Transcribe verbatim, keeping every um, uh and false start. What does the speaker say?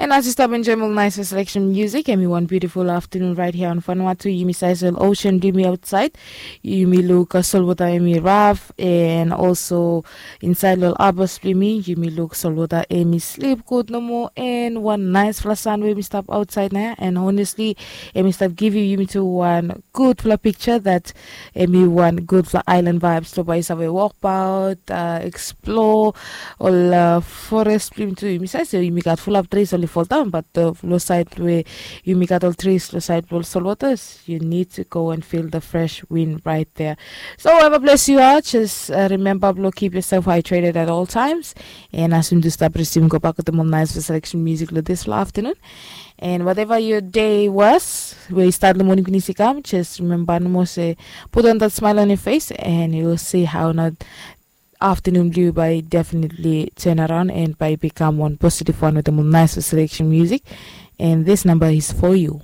And as yu stap enjoim ol nais selection music, em i wan beautiful afternoon right here on Vanuatu. Yumi saiz ol ocean blong yumi outside. Yumi luk uh, solwota em i raf, and also inside ol abas blong yumi, yumi luk solwota em i sleep good nomo, and wan nice fla sun wey mi stap outside na. And honestly, em i stap givim yumi tu wan gudfala picture that em i wan gudfala island vibes. So bai yu save walk about, uh, explore ol uh, forest blong yumi tu. Yumi saiz se yumi gat full up trees only fall down, but uh, lo side we yumi gat ol trees lo side lo solwatas, you need to go and feel the fresh wind right there. So wherever place you are, just uh, remember blo keep yourself hydrated at all times. And as soon as stop resume go back with the more nice selection music lo this afternoon. And whatever your day was, we start the morning pinis i kam, just remember no more say put on that smile on your face, and you'll see how not afternoon blue by definitely turn around and by become one positive one with the more nice selection music. And this number is for you.